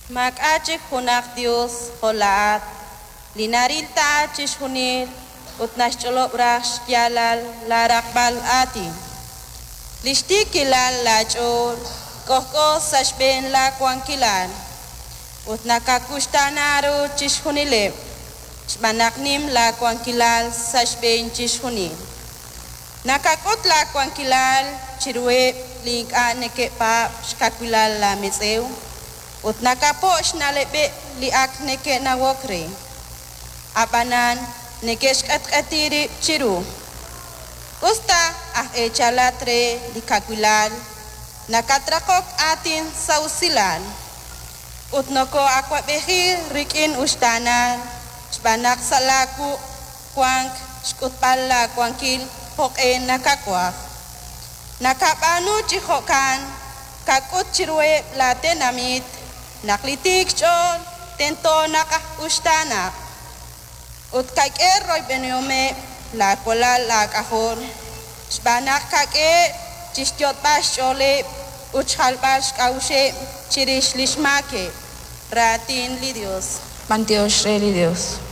Maak'a' chik junaq yos jo' laa'at, li naril ta chixjunil ut naxch'olob' raj xyaalal laaraqb'al aatin. Li xtiikilal laach'ool k'ojk'o sa' xb'een laawankilal, ut nakawuxtaana ru chixjunileb' xb'aan naq nim laawankilal sa' xb'een chixjunil. Nakak'ut laawankilal chiruheb' li ink'a' neke'paab' xkawilal laametz'ew, ut nakapo' xna'leb'eb' li ak neke'nawok re, ab'anan neke'xq'etq'eti rib' chiru. Us ta aj eechalat re li kawilal, nakatraqok aatin sa' usilal ut nokoo'awab'eji rik'in uxtaanal, xb'aan naq sa' laawuq' wank xk'utb'al laawankil jo'q'e nakawaj. Nakab'aanu chi jo'kan, kak'ut chiruheb' laatenamit naq li tiik xch'ool tento naq aj uxtaanaq. Ut kak'e royb'enihomeb' laawalal aak'ajol, xb'aan naq kak'eheb' chi xyot'b'al xch'ooleb' ut xjalb'al xk'a'uxeb' chirix li xmaakeb'. Raatin li Yos. B'antiox re li Dios.